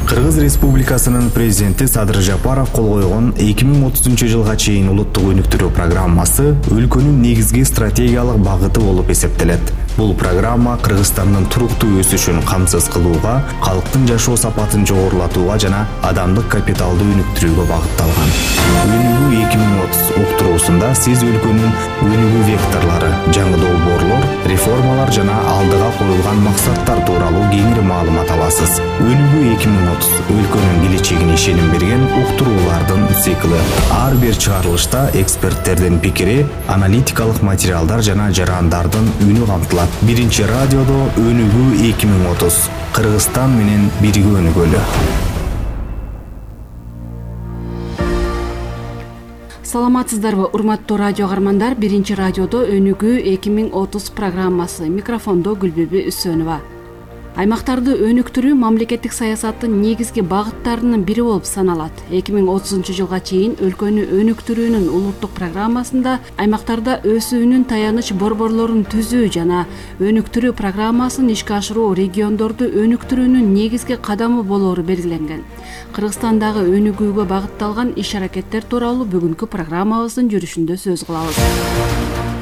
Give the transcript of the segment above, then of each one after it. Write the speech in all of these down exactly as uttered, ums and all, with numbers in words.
Кыргыз Республикасынын президенти Садыр Жапаров кол койгон эки миң отузунчу жылга чейин улуттук өнүктүрүү программасы өлкөнүн негизги стратегиялык багыты болуп эсептелет. Бул программа Кыргызстандын туруктуу өсүшүн камсыз кылууга, калктын жашоо сапатын жогорулатууга жана адамдык капиталды өнүктүрүүгө багытталган. Өнүгүү эки миң отуз уктуруусунда сиз өлкөнүн өнүгүү векторлору, жаңы долбоорлор, реформалар жана алдыга коюлган максаттар тууралуу кеңири маалымат аласыз. Өнүгүү эки миң отуз өлкөнүн келечегине ишеним берген уктуруулардын циклы. Ар бир чыгарылышта эксперттердин пикири, аналитикалык материалдар жана жарандардын үнү камтылат. Биринчи радиодо Өнүгүү эки миң отуз. Кыргызстан менен бирге өнүгөлү. Саламатсыздарбы, урматтуу радио каармандар? Биринчи радиодо Өнүгүү эки миң отуз программасы. Микрофондо Гүлбүбү Үсөнова. Аймактарды өнүктүрүү мамлекеттик саясаттын негизги багыттарынын бири болуп саналат. эки миң отузунчу жылга чейин өлкөнү өнүктүрүүнүн улуттук программасында аймактарда өсүүнүн таяныч борборлорун түзүү жана өнүктүрүү программасын ишке ашыруу региондорду өнүктүрүүнүн негизги кадамы болоору белгиленген. Кыргызстандагы өнүгүүгө багытталган иш-аракеттер тууралуу бүгүнкү программабыздын жүрүшүндө сөз кылабыз.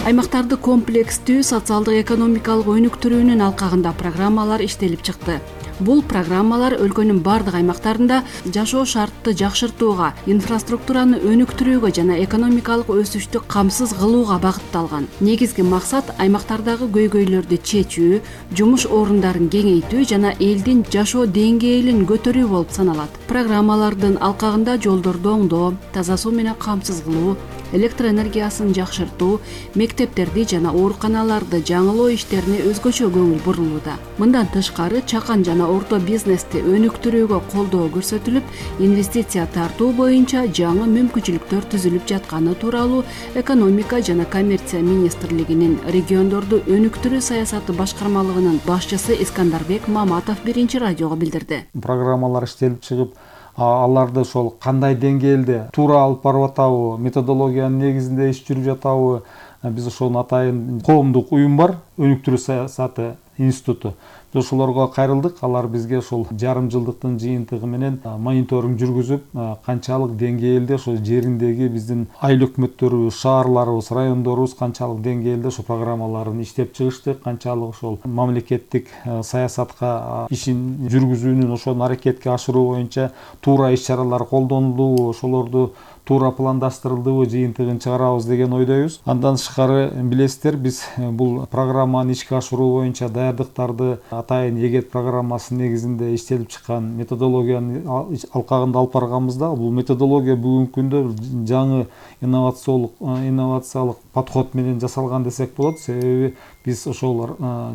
Аймактарды комплекстүү социалдык экономикалык өнүктүрүүнүн алкагында программалар иштелип чыкты. Бул программалар өлкөнүн бардык аймактарында жашоо шартты жакшыртууга, инфраструктураны өнүктүрүүгө жана экономикалык өсүштү камсыз кылууга багытталган. Негизги максат аймактардагы көйгөйлөрдү чечүү, жумуш орундарын кеңейтүү жана элдин жашоо деңгээлин көтөрүү болуп саналат. Программалардын алкагында жолдорду оңдоо, таза суу менен камсыз кылуу, электр энергиясын жакшыртуу, мектептерди жана ооруканаларды жаңылоо иштерине өзгөчө көңүл бурулууда. Мындан тышкары чакан жана орто бизнести өнүктүрүүгө колдоо көрсөтүлүп, инвестиция тартуу боюнча жаңы мүмкүнчүлүктөр түзүлүп жатканы тууралуу Экономика жана коммерция министрлигинин региондорду өнүктүрүү саясаты башкармалыгынын башчысы Искандарбек Маматов биринчи радиого билдирди. Программалар иштелип чыгып, аларды ошол кандай деңгээлде туура алып барып атабы, методологиянын негизинде иш жүрүп жатабы, биз ошонун атайын коомдук уюм бар, өнүктүрүү саясаты институту. Биз ошолорго кайрылдык, алар бизге ошол жарым жылдыктын жыйынтыгы менен мониторинг жүргүзүп, канчалык деңгээлде ошол жериндеги биздин айыл өкмөттөрүбүз, шаарларыбыз, райондорубуз канчалык деңгээлде ошол программаларын иштеп чыгышты, канчалык ошол мамлекеттик саясатка ишин жүргүзүүнүн, ошону аракетке ашыруу боюнча туура иш-чаралар колдонулдубу, ошолорду туура пландаштырылдыбы жыйынтыгын чыгарабыз деген ойдойбуз. Андан тышкары билесиздер, биз бул программаны ишке ашыруу боюнча даярдыктарды атайын эгет программасы негизинде иштелип чыккан методологиянын алкагында алып барганбызда, бул методология бүгүнкү күндө жаңы инновациялык инновациялык подход менен жасалган десек болот. Себеби биз ошол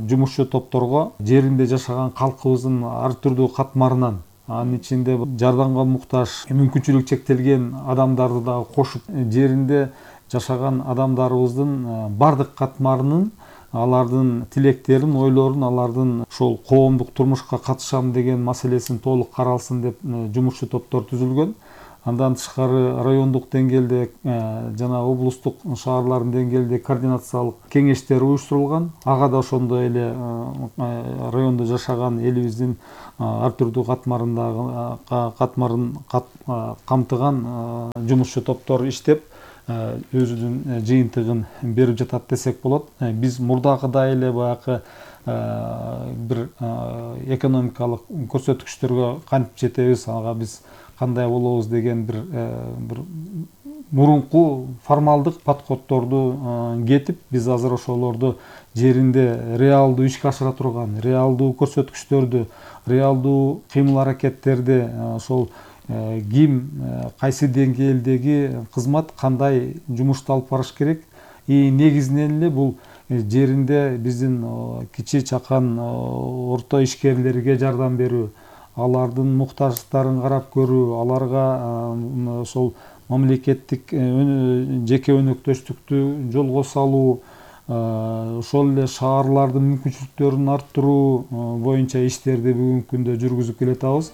жумушчу топторго жеринде жашаган калкыбыздын ар түрдүү катмарынан, анын ичинде жардамга муктаж, мүмкүнчүлүгү чектелген адамдарды да кошуп, жеринде жашаган адамдарыбыздын бардык катмарынын, алардын тилектерин, ойлорун, алардын ошол коомдук турмушка катышам деген маселесин толук каралсын деп жумушчу топтор түзүлгөн. Андан тышкары райондук деңгээлде жана облустук, шаарлардын деңгээлде координациялык кеңештер уюштурулган. Ага да ошондой эле райондо жашаган элибиздин ар түрдүү катмарындагы катмарын камтыган жумушчу топтор иштеп, өзүнүн жыйынтыгын берип жатат десек болот. Биз мурдагыдай эле баягы бир экономикалык көрсөткүчтөргө кантип жетебиз, ага биз кандай болобуз деген бир бир мурунку формалдык подходдорду кетип, биз азыр ошолорду жеринде реалдуу ишке ашыра турган, реалдуу көрсөткүчтөрдү, реалдуу кыймыл-аракеттерди, ошол ким кайсы деңгээлдеги кызмат кандай жумушту алып барыш керек, и негизинен эле бул жеринде биздин кичи чакан орто ишкерлерге жардам берүү, алардын муктаждыктарын карап көрүү, аларга ошол мамлекеттик жеке өнөктөштүктү жолго салуу, ошол эле шаарлардын мүмкүнчүлүктөрүн арттыруу боюнча иштерди бүгүнкү күндө жүргүзүп келатабыз.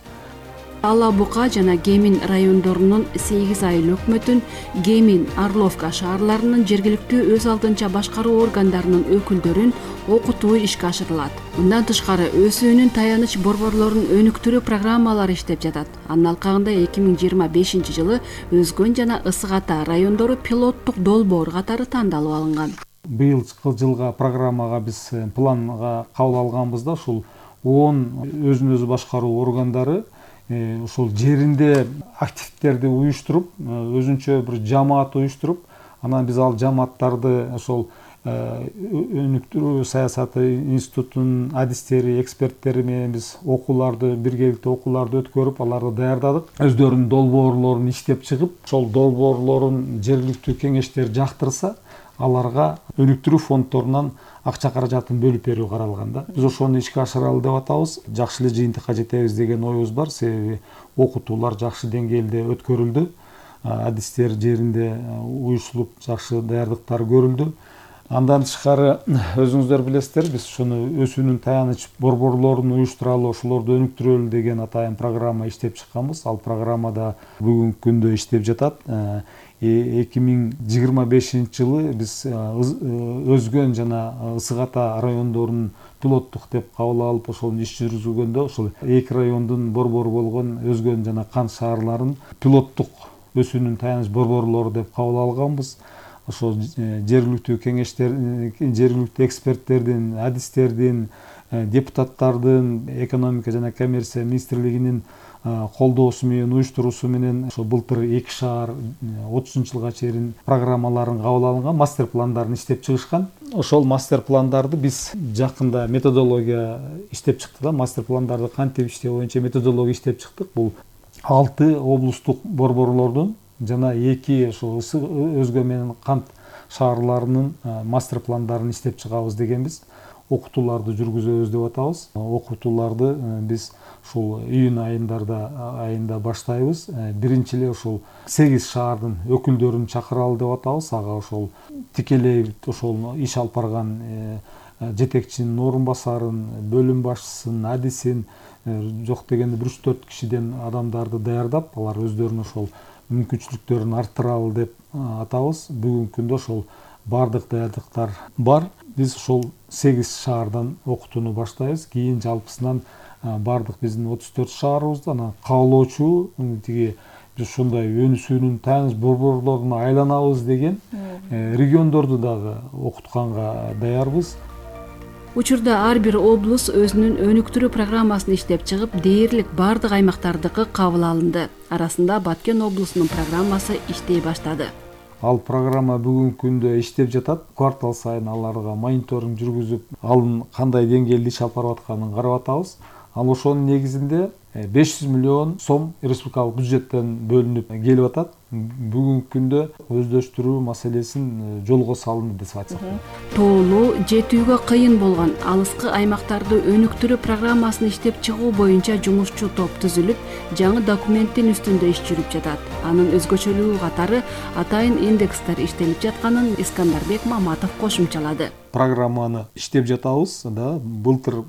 Ала Бука жана Кемин райондорунун сегиз айыл өкмөтүн, Кемин, Орловка шаарларынын жергиликтүү өз алдынча башкаруу органдарынын өкүлдөрүн окутуу ишке ашырылат. Мындан тышкары өсүүнүн таяныч борборлорун өнүктүрүү программалары иштеп жатат. Анын алкагында эки миң жыйырма бешинчи жылы Өзгөн жана Ысык Ата райондору пилоттук долбоор катары тандалып алынган. Быйылкы жылга программага биз планга кабыл алганбыз да, ушул он өзүн өзү башкаруу органдары ушул жеринде активдерди уюштуруп, өзүнчө бир жамаат уюштуруп, анан биз ал жамааттарды ошол өнүктүрүү саясаты институтунун адистери, эксперттери менен биз окууларды, биргеликте окууларды өткөрүп, аларды даярдадык. Өздөрүнүн долбоорлорун иштеп чыгып, ошол долбоорлорун жергиликтүү кеңештер жактырса, аларга өнүктүрүү фонддорунан акча каражатын бөлүп берүү каралган да. Биз ошону ишке ашыралы деп атабыз. Жакшы эле жыйынтыкка жетебиз деген оюбуз бар. Себеби окутуулар жакшы деңгээлде өткөрүлдү. Адистер жеринде уюшулуп, жакшы даярдыктар көрүлдү. Андан тышкары өзүңүздөр билесиздер, биз ушуну өсүүнүн таяныч борборлорун уюштуралы, ошолорду өнүктүрөлү деген атайын программа иштеп чыкканбыз. Ал программада бүгүнкү күндө иштеп жатат. эки миң жыйырма бешинчи жылы биз Өзгөн жана Ысык Ата райондорунун пилоттук деп кабыл алып, ошол иш жүргүзгөндө ошол эки райондун борбору болгон Өзгөн жана Кант шаарларын пилоттук өсүүнүн таяныч борборлору деп кабыл алганбыз. Ошол жергиликтүү кеңештер, жергиликтүү эксперттердин, адистердин, депутаттардын, экономика жана коммерция министрлигинин колдоосу менен, уюштуруусу менен ошо былтыр эки шаар отузунчу жылга чейин программаларын кабыл алынган, мастер пландарын иштеп чыгышкан. Ошол мастер пландарды биз жакында методология иштеп чыктык да, мастер пландарды кантип иштөө боюнча методология иштеп чыктык. Бул алты облустук борборлордун жана эки ошо Өзгөн менен Кант шаарларынын мастер пландарын иштеп чыгабыз дегенбиз. Окутууларды жүргүзөбүз деп атабыз. Окутууларды биз ушул июнь айындарда айында баштайбыз. Биринчи эле ушул сегиз шаардын өкүлдөрүн чакыралы деп атабыз. Ага ошол тикелей ошол иш алып барган жетекчинин орун басарын, бөлүм башчысын, адисин, жок дегенде бир үч төрт кишиден адамдарды даярдап, алар өздөрүнүн ошол мүмкүнчүлүктөрүн арттыралы деп атабыз. Бүгүнкү күндө ошол бардык даярдыктар бар. Биз ошол сегиз шаардан окутууну баштайбыз. Кийин жалпысынан бардык биздин отуз төрт шаарыбызда анан каалоочу тиги биз ушундай өнүсүүнүн таяныч борборлоруна айланабыз деген региондорду дагы окутканга даярбыз. Учурда ар бир облус өзүнүн өнүктүрүү программасын иштеп чыгып, дээрлик бардык аймактардыкы кабыл алынды. Арасында Баткен облусунун программасы иштей баштады. Ал программа бүгүнкү күндө иштеп жатат. Квартал сайын аларга мониторинг жүргүзүп, алын кандай деңгээлде иш алып барып атканын карап атабыз. Ал ошонун негизинде беш жүз миллион сом республикалык бюджеттен бөлүнүп келип атат. Бүгүнкү күндө өздөштүрүү маселесин жолго салынды деп айтсак. Тоолуу, жетүүгө кыйын болгон алыскы аймактарды өнүктүрүү программасын иштеп чыгуу боюнча жумушчу топ түзүлүп, жаңы документтин үстүндө иш жүрүп жатат. Анын өзгөчөлүгү катары атайын индекстер иштелип жатканын Искандарбек Маматов кошумчалады. Программаны иштеп жатабыз да, былтыр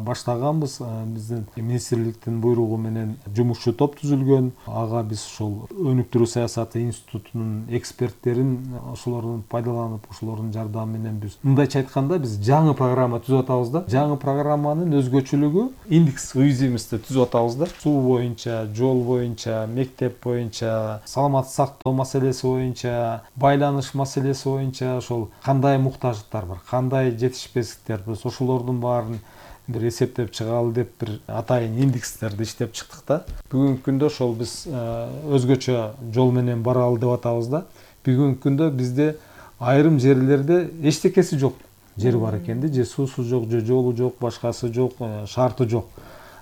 баштаганбыз. Биздин министрликтин буйругу менен жумушчу топ түзүлгөн. Ага биз ошол өнүктүрүү саясаты институтунун эксперттерин ошолордун пайдаланып, ошолордун жардамы менен биз мындайча айтканда биз жаңы программа түзүп атабыз да. Жаңы программанын өзгөчөлүгү индекс уязвимости түзүп атабыз да. Суу боюнча, жол боюнча, мектеп боюнча, саламаттык сактоо маселеси боюнча, байланыш маселеси боюнча ошол кандай муктаждыктар бар, кандай жетишпестиктер, биз ошолордун баарын бир эсептеп чыгалы деп бир атайын индекстерди иштеп чыктык да. Бүгүнкү күндө ошол биз өзгөчө жол менен баралы деп атабыз да. Бүгүнкү күндө бизде айрым жерлерде эчтекеси жок жер бар экен да, же суусу жок, же жолу жок, башкасы жок, шарты жок.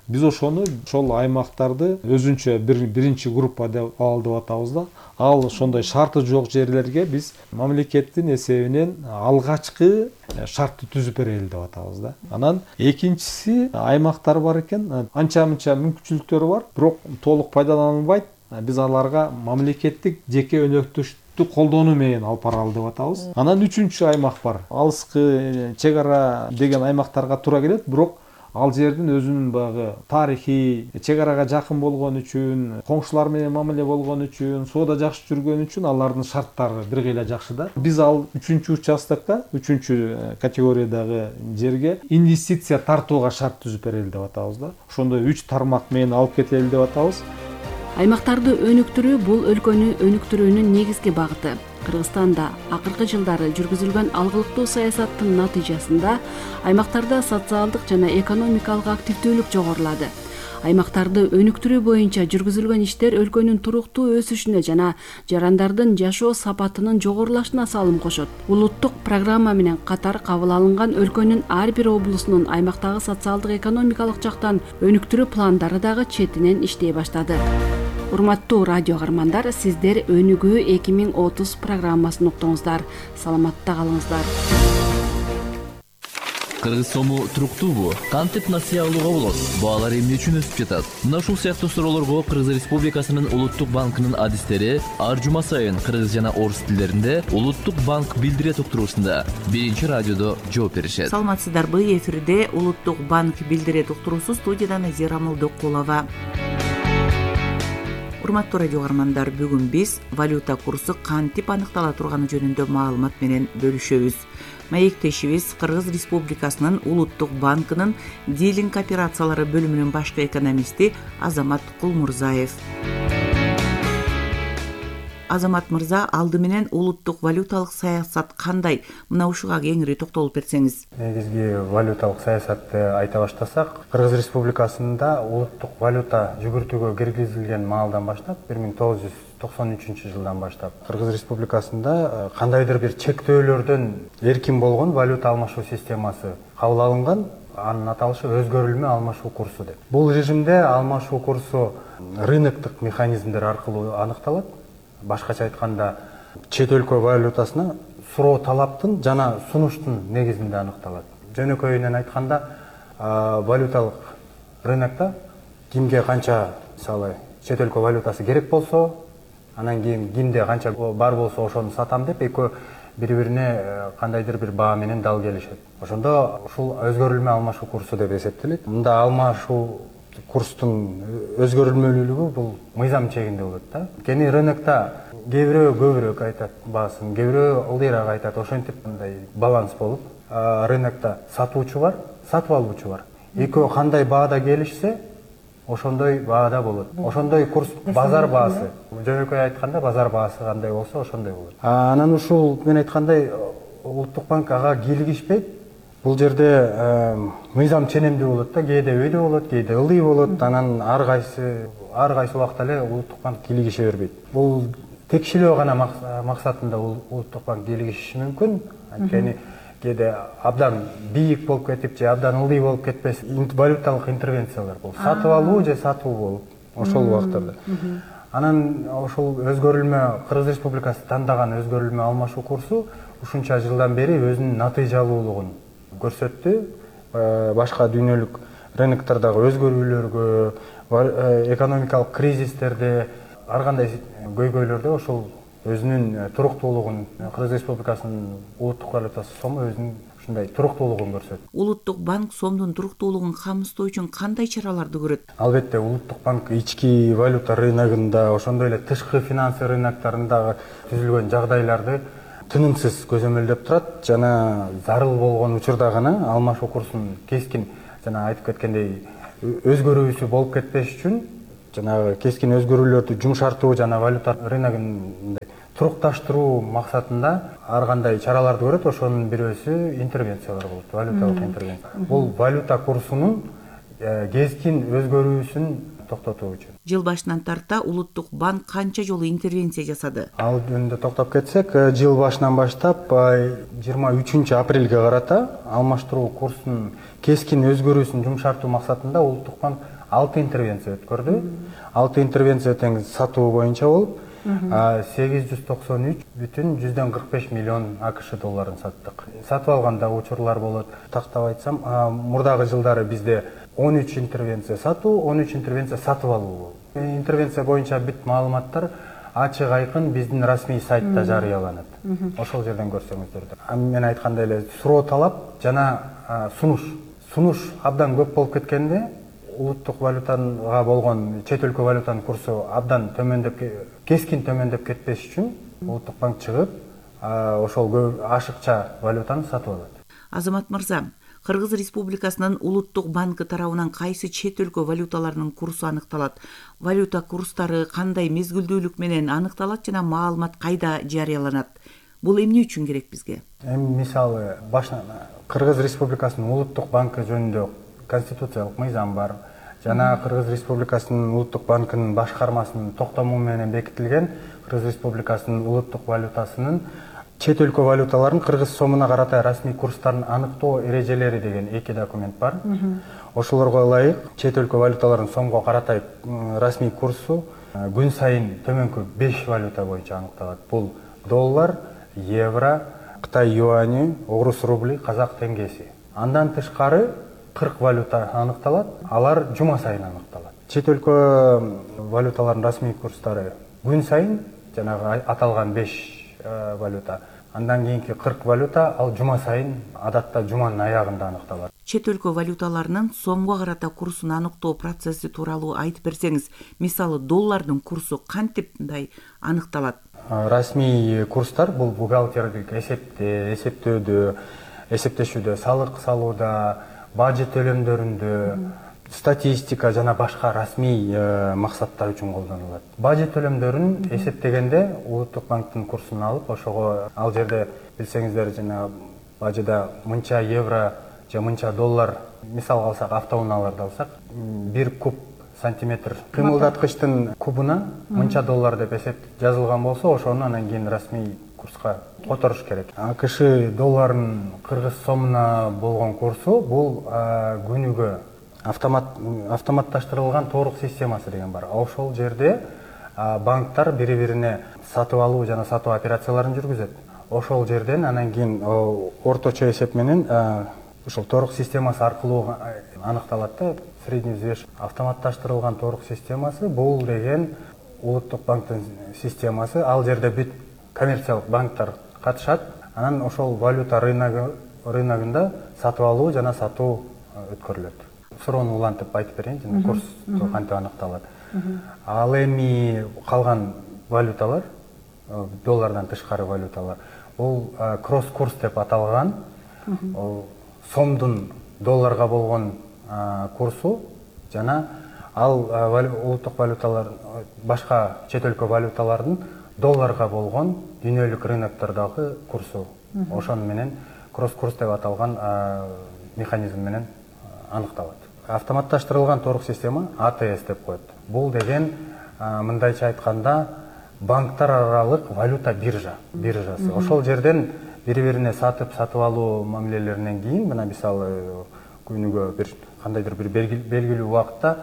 Биз ошону ошол аймактарды өзүнчө бир биринчи группа деп алалы деп атабыз да. Ал ошондой шарты жок жерлерге биз мамлекеттин эсебинен алгачкы шартты түзүп берели деп атабыз да. Анан экинчиси аймактар бар экен, анча-мынча мүмкүнчүлүктөрү бар, бирок толук пайдаланылбайт. Биз аларга мамлекеттик жеке өнөктөштүктү колдонуу менен алып баралы деп атабыз. Анан үчүнчү аймак бар. Алыскы чек ара деген аймактарга туура келет, бирок ал жердин өзүнүн баягы тарыхый, чек арага жакын болгон үчүн, коңшулар менен мамиле болгон үчүн, соода жакшы жүргөн үчүн алардын шарттары бир кыйла жакшы да. Биз ал үчүнчү участокко, үчүнчү категориядагы жерге инвестиция тартууга шарт түзүп берели деп атабыз да. Ошондой үч тармак менен алып кетели деп атабыз. Аймактарды өнүктүрүү бул өлкөнү өнүктүрүүнүн негизги багыты. Кыргызстанда акыркы жылдары жүргүзүлгөн алгылыктуу саясаттын натыйжасында аймактарда социалдык жана экономикалык активдүүлүк жогорулады. Аймактарды өнүктүрүү боюнча жүргүзүлгөн иштер өлкөнүн туруктуу өсүшүнө жана жарандардын жашоо сапатынын жогорулашына салым кошот. Улуттук программа менен катар кабыл алынган өлкөнүн ар бир облусунун аймактагы социалдык экономикалык жактан өнүктүрүү пландары дагы четинен иштей баштады. Урматтуу радио каармандар, сиздер Өнүгүү эки миң отуз программасын уктуңуздар. Саламатта калыңыздар. Кыргыз сому туруктуубу? Кантип насыя алууга болот? Баалар эмне үчүн өсүп жатат? Мына ушул сыяктуу суроолорго Кыргыз Республикасынын Улуттук банкынын адистери ар жума сайын кыргыз жана орус тилдеринде Улуттук банк билдирет уктуруусунда биринчи радиодо жооп беришет. Саламатсыздарбы? Эфирде Улуттук банк билдирет уктуруусу, студияда Назира Молдокулова. Урматтуу радио каармандар, бүгүн биз валюта курсу кантип аныктала турганы жөнүндө маалымат менен бөлүшөбүз. Маектешибиз Кыргыз Республикасынын Улуттук банкынын дилинг операциялары бөлүмүнүн башкы экономисти Азамат Кулмурзаев. Азамат мырза, алды менен улуттук валюталык саясат кандай? Мына ушуга кеңири токтолуп берсеңиз. Негизги валюталык саясатты айта баштасак, Кыргыз Республикасында улуттук валюта жүгүртүүгө киргизилген маалдан баштап, бир миң тогуз жүз токсон үчүнчү жылдан баштап Кыргыз Республикасында кандайдыр бир чектөөлөрдөн эркин болгон валюта алмашуу системасы кабыл алынган. Анын аталышы өзгөрүлмө алмашуу курсу деп. Бул режимде алмашуу курсу рыноктук механизмдер аркылуу аныкталат. Башкача айтканда, чет өлкө валютасына суроо талаптын жана сунуштун негизинде аныкталат. Жөнөкөйүнөн айтканда, валюталык рынокто кимге канча, мисалы, чет өлкө валютасы керек болсо, анан кийин кимде канча бар болсо ошону сатам деп, экөө бири-бирине кандайдыр бир баа менен дал келишет. Ошондо ушул өзгөрүлмө алмашуу курсу деп эсептелет. Мында алмашуу курстун өзгөрүлмөлүүлүгү бул мыйзам чегинде болот да. Кени рынокто кээ бирөө көбүрөөк айтат баасын, кээ бирөө ылдыйраак айтат. Ошентип мындай баланс болуп, рынокто сатуучу бар, сатып алуучу бар. Экөө кандай баада келишсе, ошондой баада болот. Ошондой курс базар баасы. Жөнөкөй айтканда базар баасы кандай болсо ошондой болот. Анан ушул мен айткандай Улуттук банк ага кийлигишпейт. Бул жерде мыйзам ченемдүү болот да, кээде өйдө болот, кээде ылдый болот. Анан ар кайсы ар кайсы убакта эле Улуттук банк кийлигише бербейт. Бул текшилөө гана максатында Улуттук банк кийлигишиши мүмкүн. Анткени кээде абдан бийик болуп кетип же абдан ылдый болуп кетпес валюталык интервенциялар болуп, сатып алуу же сатуу болуп ошол убактарда. Анан ошол өзгөрүлмө Кыргыз Республикасы тандаган өзгөрүлмө алмашуу курсу ушунча жылдан бери өзүнүн натыйжалуулугун көрсөттү. Башка дүйнөлүк рыноктардагы өзгөрүүлөргө, экономикалык кризистерде, ар кандай көйгөйлөрдө ошол өзүнүн туруктуулугун, Кыргыз Республикасынын улуттук валютасы сому өзүнүн ушундай туруктуулугун көрсөттү. Улуттук банк сомдун туруктуулугун камсыздоо үчүн кандай чараларды көрөт? Албетте, Улуттук банк ички валюта рыногунда, ошондой эле тышкы финансы рыноктарындагы түзүлгөн жагдайларды тынымсыз көзөмөлдөп турат жана зарыл болгон учурда гана алмашуу курсунун кескин жана айтып кеткендей өзгөрүүсү болуп кетпеш үчүн жанагы кескин өзгөрүүлөрдү жумшартуу жана валюта рыногун турукташтыруу максатында ар кандай чараларды көрөт. Ошонун бирөөсү интервенциялар болот, валюталык интервенция. Бул валюта курсунун кескин өзгөрүүсүн токтотуу үчүн. Жыл башынан тарта Улуттук банк канча жолу интервенция жасады? Ал жөнүндө токтоп кетсек, жыл башынан баштап жыйырма үчүнчү апрелге карата алмаштыруу курсунун кескин өзгөрүүсүн жумшартуу максатында Улуттук банк алты интервенция өткөрдү. алты интервенция тең сатуу боюнча болуп, сегиз жүз токсон үч бүтүн жүздөн кырк беш миллион АКШ долларын саттык. Сатып алганда учурлар болот. Тактап айтсам, мурдагы жылдары бизде он үч интервенция сатуу, он үч интервенция сатып алуу болду. Интервенция боюнча бүт маалыматтар ачык айкын биздин расмий сайтта жарыяланат. Ошол жерден көрсөңүздөр. Мен айткандай эле суроо талап жана сунуш сунуш абдан көп болуп кеткенде улуттук валютага болгон чет өлкө валютанын курсу абдан төмөндөп кескин төмөндөп кетпеш үчүн улуттук банк чыгып ошол көп ашыкча валютаны сатып алат. Азамат мырза, Кыргыз Республикасынын улуттук банкы тарабынан кайсы чет өлкө валюталарынын курсу аныкталат? Валюта курстары кандай мезгилдүүлүк менен аныкталат жана маалымат кайда жарыяланат? Бул эмне үчүн керек бизге? Эми мисалы башынан Кыргыз Республикасынын улуттук банкы жөнүндө конституциялык мыйзам бар. Жана Кыргыз Республикасынын улуттук банкынын башкармасынын токтому менен бекитилген Кыргыз Республикасынын улуттук валютасынын чет өлкө валюталарын кыргыз сомуна карата расмий курстарын аныктоо эрежелери деген эки документ бар. Ошолорго ылайык чет өлкө валюталарын сомго карата расмий курсу күн сайын төмөнкү беш валюта боюнча аныкталат. Бул доллар, евро, Кытай юани, орус рубли, казак теңгеси. Андан тышкары кырк валюта аныкталат. Алар жума сайын аныкталат. Чет өлкө валюталардын расмий курстары күн сайын жанагы аталган беш валюта. Андан кийинки кырк валюта ал жума сайын адатта жуманын аягында аныкталат. Чет өлкө валюталарынын сомго карата курсун аныктоо процесси тууралуу айтып берсеңиз, мисалы доллардын курсу кантип аныкталат? Расмий курстар бул бухгалтердик эсепте, эсептөөдө, эсептешүүдө, салык салууда, бажы төлөмдөрүндө, статистика жана башка расмий максаттар үчүн колдонулат. Бажы төлөмдөрүн эсептегенде улуттук банктын курсун алып, ошого ал жерде билсеңиздер жана бажыда мынча евро же мынча доллар, мисал алсак автоунааларды алсак, бир куб сантиметр кыймылдаткычтын кубуна мынча доллар деп эсеп жазылган болсо, ошону анан кийин расмий курска которуш керек. АКШ долларынын кыргыз сомуна болгон курсу бул күнүгө автомат автоматташтырылган торук системасы деген бар. Ошол жерде банктар бири-бирине сатып алуу жана сатуу операцияларын жүргүзөт. Ошол жерден анан кийин орточо эсеп менен ошол торук системасы аркылуу аныкталат да. Средний взвеш автоматташтырылган торук системасы бул деген улуттук банктын системасы. Ал жерде бүт коммерциялык банктар катышат. Анан ошол валюта рыногу рыногунда сатып алуу жана сатуу өткөрүлөт. Суроону улантып айтып берейин, жана курс кантип аныкталат. Ал эми калган валюталар, доллардан тышкары валюталар, бул кросс курс деп аталган. Сомдун долларга болгон курсу жана ал улуттук валюталар, башка чет өлкө валюталардын долларга болгон дүйнөлүк рыноктордогу курсу. Ошону менен кросс курс деп аталган механизм менен аныкталат. Автоматташтырылган торук система А Т С деп коет. Бул деген мындайча айтканда банктар аралык валюта биржа, биржасы. Ошол жерден бири-бирине сатып сатып алуу мамилелеринен кийин, мына мисалы күнүгө бир кандайдыр бир белгилүү убакытта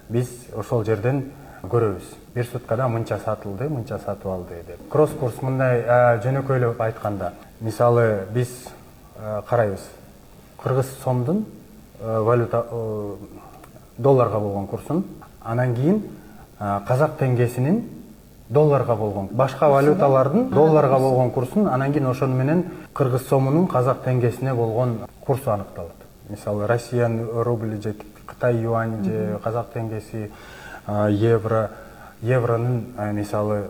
биз ошол жерден көрөбүз. Бир суткада мынча сатылды, мынча сатып алды деп. Кросс курс мындай жөнөкөйлөп айтканда, мисалы биз карайбыз. Кыргыз сомдун валюта долларга болгон курсун, анан кийин казак теңгесинин долларга болгон, башка валюталардын долларга болгон курсун, анан кийин ошону менен кыргыз сомунун казак теңгесине болгон курсу аныкталат. Мисалы Россиянын рубли же Кытай юани же казак теңгеси, евро, евронун мисалы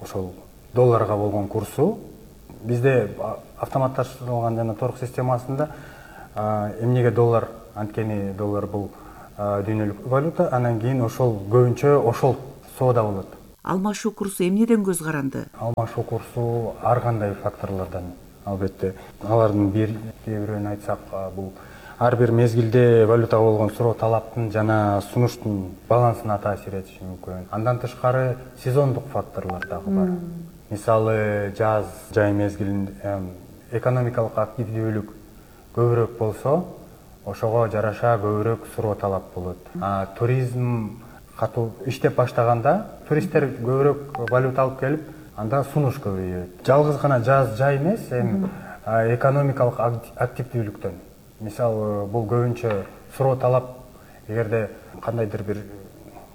ошол долларга болгон курсу бизде автоматташтырылган жана торук системасында эмнеге доллар, анткени доллар бул дүйнөлүк валюта, анан кийин ошол көбүнчө ошол соода болот. Алмашуу курсу эмнеден көз каранды? Алмашуу курсу ар кандай факторлордон, албетте. Алардын бир бирөөнү айтсак, бул ар бир мезгилде валютага болгон суроо талаптын жана сунуштун балансына таасир этиши мүмкүн. Андан тышкары сезондук факторлор дагы бар. Мисалы жаз жай мезгилинде экономикалык активдүүлүк көбүрөөк болсо, ошого жараша көбүрөөк суроо талап болот. А туризм катуу иштеп баштаганда туристтер көбүрөөк валюта алып келип, анда сунуш көбөйөт. Жалгыз гана жаз жай эмес, эми экономикалык активдүүлүктөн. Мисалы бул көбүнчө суроо талап, эгерде кандайдыр бир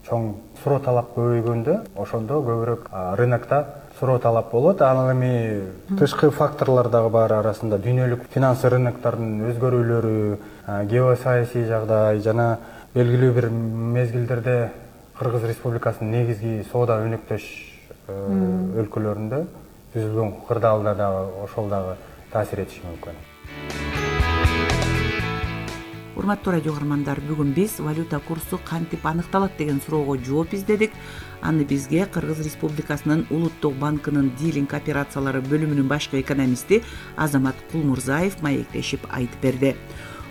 чоң суроо талап көбөйгөндө, ошондо көбүрөөк рынокто суроо талап болот. Анан эми тышкы факторлор дагы бар, арасында дүйнөлүк финанс рыноктордун өзгөрүүлөрү, геосаясий жагдай жана белгилүү бир мезгилдерде Кыргыз Республикасынын негизги соода өнөктөш өлкөлөрүндө түзүлгөн кырдаалда дагы ошол дагы таасир этиши мүмкүн. Урматтуу радио каармандар, бүгүн биз валюта курсу кантип аныкталат деген суроого жооп издедик. Аны бизге Кыргыз Республикасынын Улуттук банкынын дилинг операциялары бөлүмүнүн башкы экономисти Азамат Кулмурзаев маектешип айтып берди.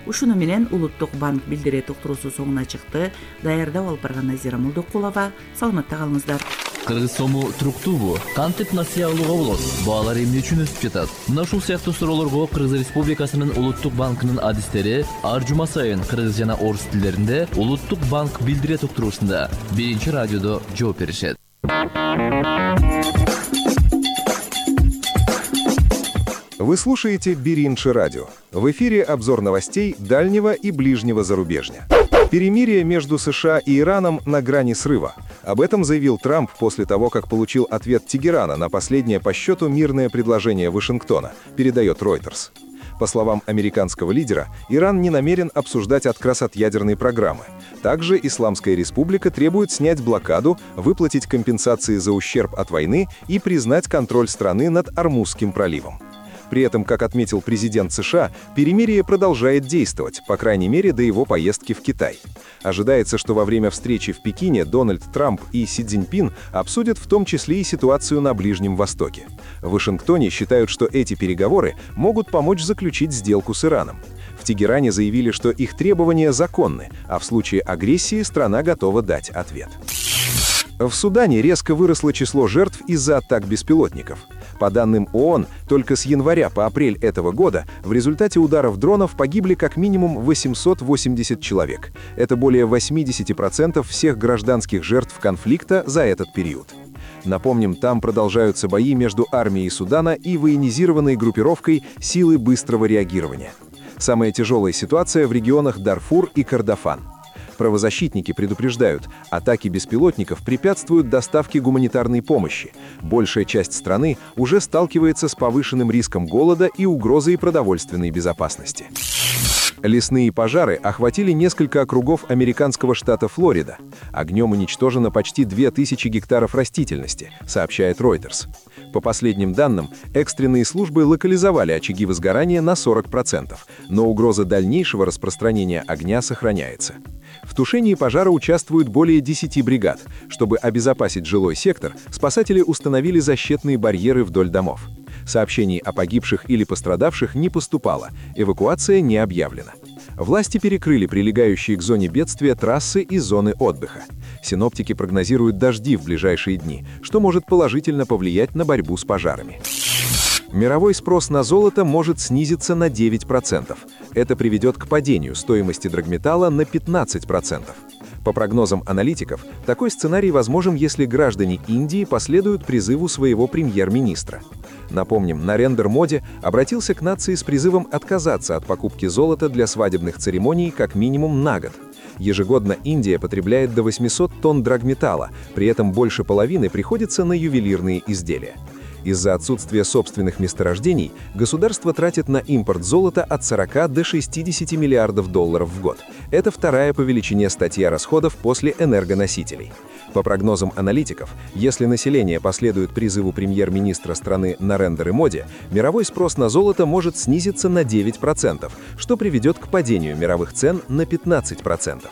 Ушуну менен Улуттук банк билдирет уктуруусу соңуна чыкты. Даярдап алып барган Назира Молдокулова. Саламатта калыңыздар. Кыргыз сому туруктуубу? Кантип насыя алууга болот? Баалар эмне үчүн өсүп жатат? Мына ушул сыяктуу суроолорго Кыргыз Республикасынын Улуттук банкынын адистери ар жума сайын кыргыз жана орус тилдеринде Улуттук банк билдирет уктуруусунда биринчи радиодо жооп беришет. Вы слушаете Биринчи радио. В эфире обзор новостей дальнего и ближнего зарубежья. Перемирие между США и Ираном на грани срыва. Об этом заявил Трамп после того, как получил ответ Тегерана на последнее по счету мирное предложение Вашингтона, передает Reuters. По словам американского лидера, Иран не намерен обсуждать отказ от ядерной программы. Также Исламская республика требует снять блокаду, выплатить компенсации за ущерб от войны и признать контроль страны над Ормузским проливом. При этом, как отметил президент США, перемирие продолжает действовать, по крайней мере, до его поездки в Китай. Ожидается, что во время встречи в Пекине Дональд Трамп и Си Цзиньпин обсудят в том числе и ситуацию на Ближнем Востоке. В Вашингтоне считают, что эти переговоры могут помочь заключить сделку с Ираном. В Тегеране заявили, что их требования законны, а в случае агрессии страна готова дать ответ. В Судане резко выросло число жертв из-за атак беспилотников. По данным ООН, только с января по апрель этого года в результате ударов дронов погибли как минимум восемьсот восемьдесят человек. Это более восемьдесят процентов всех гражданских жертв конфликта за этот период. Напомним, там продолжаются бои между армией Судана и военизированной группировкой «Силы быстрого реагирования». Самая тяжелая ситуация в регионах Дарфур и Кордофан. Правозащитники предупреждают, атаки беспилотников препятствуют доставке гуманитарной помощи. Большая часть страны уже сталкивается с повышенным риском голода и угрозой продовольственной безопасности. Лесные пожары охватили несколько округов американского штата Флорида. Огнем уничтожено почти две тысячи гектаров растительности, сообщает Reuters. По последним данным, экстренные службы локализовали очаги возгорания на сорок процентов, но угроза дальнейшего распространения огня сохраняется. В тушении пожара участвуют более десяти бригад. Чтобы обезопасить жилой сектор, спасатели установили защитные барьеры вдоль домов. Сообщений о погибших или пострадавших не поступало, эвакуация не объявлена. Власти перекрыли прилегающие к зоне бедствия трассы и зоны отдыха. Синоптики прогнозируют дожди в ближайшие дни, что может положительно повлиять на борьбу с пожарами. Мировой спрос на золото может снизиться на девять процентов. Это приведет к падению стоимости драгметалла на пятнадцать процентов. По прогнозам аналитиков, такой сценарий возможен, если граждане Индии последуют призыву своего премьер-министра. Напомним, Нарендра Моди обратился к нации с призывом отказаться от покупки золота для свадебных церемоний как минимум на год. Ежегодно Индия потребляет до восьмисот тонн драгметалла, при этом больше половины приходится на ювелирные изделия. Из-за отсутствия собственных месторождений государство тратит на импорт золота от сорока до шестидесяти миллиардов долларов в год. Это вторая по величине статья расходов после энергоносителей. По прогнозам аналитиков, если население последует призыву премьер-министра страны Нарендры Моди, мировой спрос на золото может снизиться на девять процентов, что приведет к падению мировых цен на пятнадцать процентов.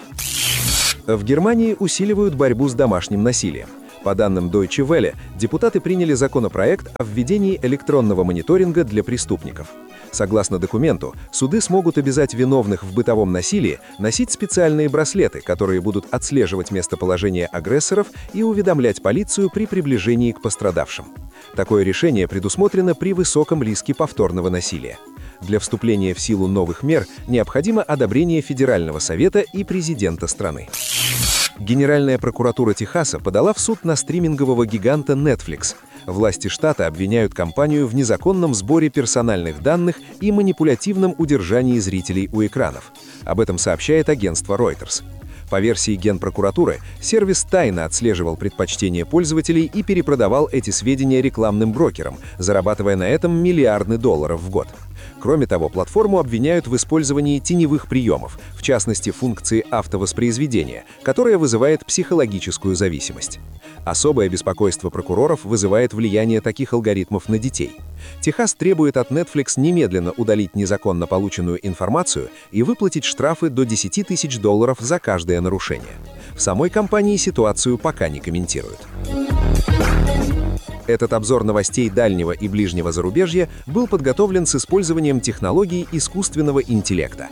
В Германии усиливают борьбу с домашним насилием. По данным Deutsche Welle, депутаты приняли законопроект о введении электронного мониторинга для преступников. Согласно документу, суды смогут обязать виновных в бытовом насилии носить специальные браслеты, которые будут отслеживать местоположение агрессоров и уведомлять полицию при приближении к пострадавшим. Такое решение предусмотрено при высоком риске повторного насилия. Для вступления в силу новых мер необходимо одобрение Федерального совета и президента страны. Генеральная прокуратура Техаса подала в суд на стримингового гиганта Netflix. Власти штата обвиняют компанию в незаконном сборе персональных данных и манипулятивном удержании зрителей у экранов. Об этом сообщает агентство Reuters. По версии Генпрокуратуры, сервис тайно отслеживал предпочтения пользователей и перепродавал эти сведения рекламным брокерам, зарабатывая на этом миллиарды долларов в год. Кроме того, платформу обвиняют в использовании теневых приемов, в частности функции автовоспроизведения, которая вызывает психологическую зависимость. Особое беспокойство прокуроров вызывает влияние таких алгоритмов на детей. Техас требует от Netflix немедленно удалить незаконно полученную информацию и выплатить штрафы до десять тысяч долларов за каждое нарушение. В самой компании ситуацию пока не комментируют. Этот обзор новостей дальнего и ближнего зарубежья был подготовлен с использованием технологий искусственного интеллекта.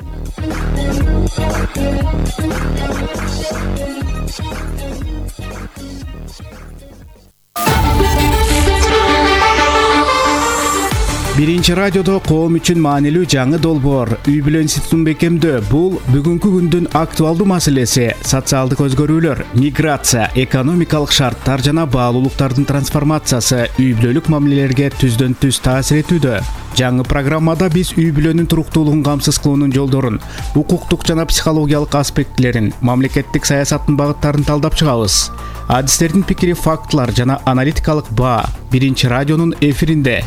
Биринчи радиодо коом үчүн маанилүү жаңы долбоор үй бүлө институтун бекемдөө. Бул бүгүнкү күндүн актуалдуу маселеси. Социалдык өзгөрүүлөр, миграция, экономикалык шарттар жана баалуулуктардын трансформациясы үй бүлөлүк мамилелерге түздөн түз таасир этүүдө. Жаңы программада биз үй бүлөнүн туруктуулугун камсыз кылуунун жолдорун, укуктук жана психологиялык аспектилерин, мамлекеттик саясаттын багыттарын талдап чыгабыз. Адистердин пикири, фактылар жана аналитикалык баа Биринчи радионун эфиринде.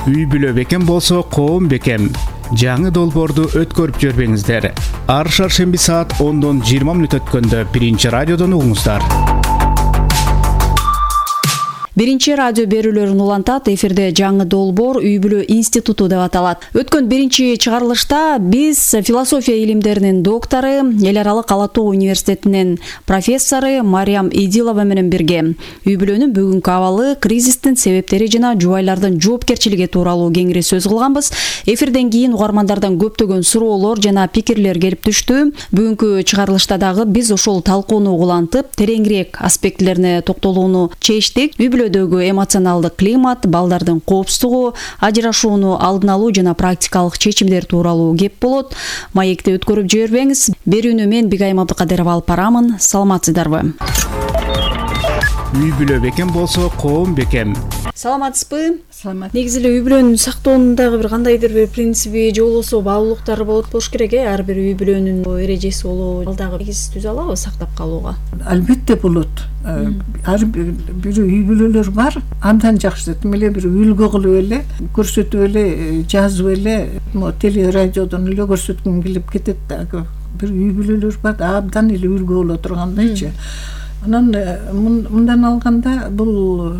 Үй бүлө бекем болсо коом бекем. Жаңы долбоорду өткөрүп жүрбөңүздөр. Ар шаршемби саат ондон жыйырма мүнөт өткөндө Биринчи радиодон угуңуздар. Биринчи радио берүүлөрүн улантат. Эфирде жаңы долбоор үй бүлө институту деп аталат. Өткөн биринчи чыгарылышта биз философия илимдеринин доктору, эл аралык Ала Тоо университетинин профессору Мариям Идилова менен бирге үй бүлөнүн бүгүнкү абалы, кризистин себептери жана жубайлардын жоопкерчилиги тууралуу кеңири сөз кылганбыз. Эфирден кийин угармандардан көптөгөн суроолор жана пикирлер келип түштү. Бүгүнкү чыгарылышта дагы биз ошол талкууну улантып, тереңирээк аспектилерине токтолууну чечтик. Үй бүлө эмоционалдык климат, балдардын коопсуздугу, ажырашууну алдын алуу жана практикалык чечимдер тууралуу кеп болот. Маекти өткөрүп жибербеңиз. Берүүнү мен Бигайым Абдыкадырова алып барамын. Саламатсыздарбы? Үй бүлө бекем болсо коом бекем. Саламатсызбы? Саламат. Негизи эле үй бүлөнүн сактоонун дагы бир кандайдыр бир принципи же болбосо баалуулуктары болот болуш керек э. Ар бир үй бүлөнүн эрежеси болобу, ал дагы негиз түзө алабы сактап калууга? Албетте болот. Ар бир үй бүлөлөр бар, абдан жакшы. Тим эле бир үлгү кылып эле, көрсөтүп эле, жазып эле, теле радиодон эле көрсөткүм келип кетет да. Бир үй бүлөлөр бар, абдан эле үлгү боло тургандайчы. Анан мындан алганда бул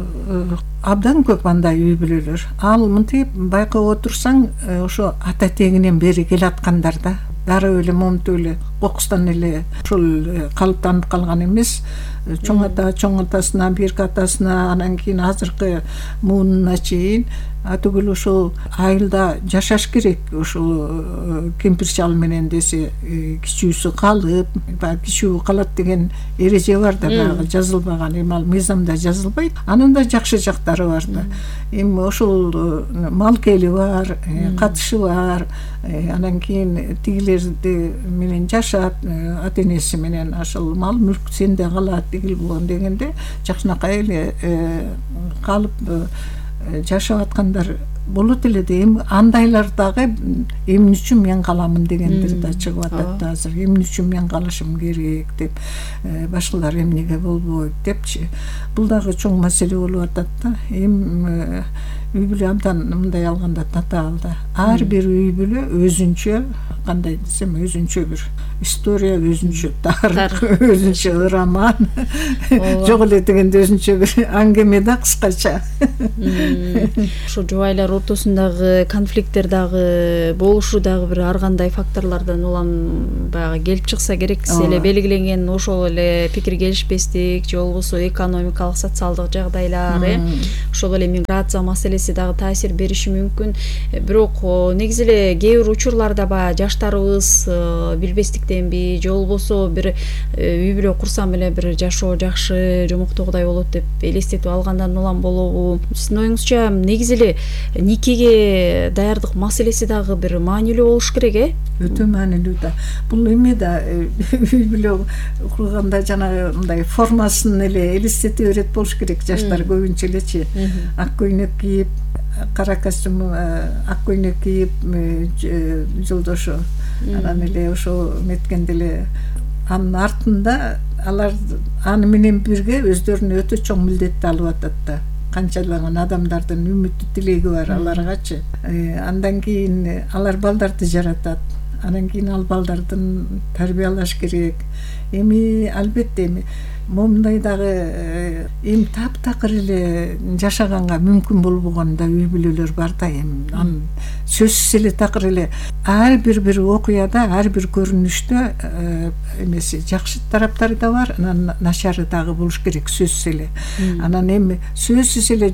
абдан көп андай үй бүлөлөр. Ал мынтип байкап отурсаң, ошо ата тегинен бери келаткандар да. Дароо эле момунтип эле кокустан эле ушул калыптанып калган эмес. Чоң ата, чоң атасына, бирки атасына, анан кийин азыркы муунуна чейин атүгүл ошол айылда жашаш керек. Ошол кемпир чал менен десе кичүүсү калып, кичүү калат деген эреже бар да, баягы жазылбаган, эми ал мыйзамда жазылбайт. Анын да жакшы жактары бар да. Эми ошол малкели бар, катышы бар. Анан кийин тигилерди менен жашат, ата энеси менен ошол мал мүлк сенде калат дегенде жакшынакай эле калып жашап аткандар болот эле да. Эми андайлар дагы эмне үчүн мен каламын дегендер да чыгып атат да азыр. Эмне үчүн мен калышым керек деп, башкалар эмнеге болбойт депчи. Бул дагы чоң маселе болуп атат да. Эми үй бүлө абдан мындай алганда татаал да. Ар бир үй бүлө өзүнчө, кандай десем, өзүнчө бир история, өзүнчө тарых, өзүнчө роман. Жок эле дегенде өзүнчө бир аңгеме да кыскача. Ошо жубайлар ортосундагы конфликттер дагы болушу дагы бир ар кандай факторлордон улам баягы келип чыкса керек. Сиз эле белгиленген ошол эле пикир келишпестик же болбосо экономикалык, социалдык жагдайлар, ошол эле миграция маселеси дагы таасир бериши мүмкүн. Бирок негизи эле кээ бир учурларда баягы жаштарыбыз билбестиктенби же болбосо бир үй бүлө курсам эле бир жашоо жакшы, жомоктогудай болот деп элестетип алгандан улам болобу? Сиздин оюңузча негизи эле никеге даярдык маселеси дагы бир маанилүү болуш керек э? Өтө маанилүү да. Бул эме да үй бүлө курганда жана мындай формасын эле элестете берет болуш керек. Жаштар көбүнчө элечи ак көйнөк кийип, кара костюм, ак көйнөк кийип, жолдошу анан эле ошо меткенде эле анын артында алар аны менен бирге өздөрүнө өтө чоң милдетти алып атат да. Канчалаган адамдардын үмүтү тилеги бар аларгачы. Андан кийин алар балдарды жаратат. Анан кийин ал балдардын тарбиялаш керек. Эми албетте эми момундай дагы эми таптакыр эле жашаганга мүмкүн болбогон да үй бүлөлөр бар да. Эми анын сөзсүз эле такыр эле ар бир бир окуяда, ар бир көрүнүштө эмеси жакшы тараптары да бар, анан начары дагы болуш керек сөзсүз эле. Анан эми сөзсүз эле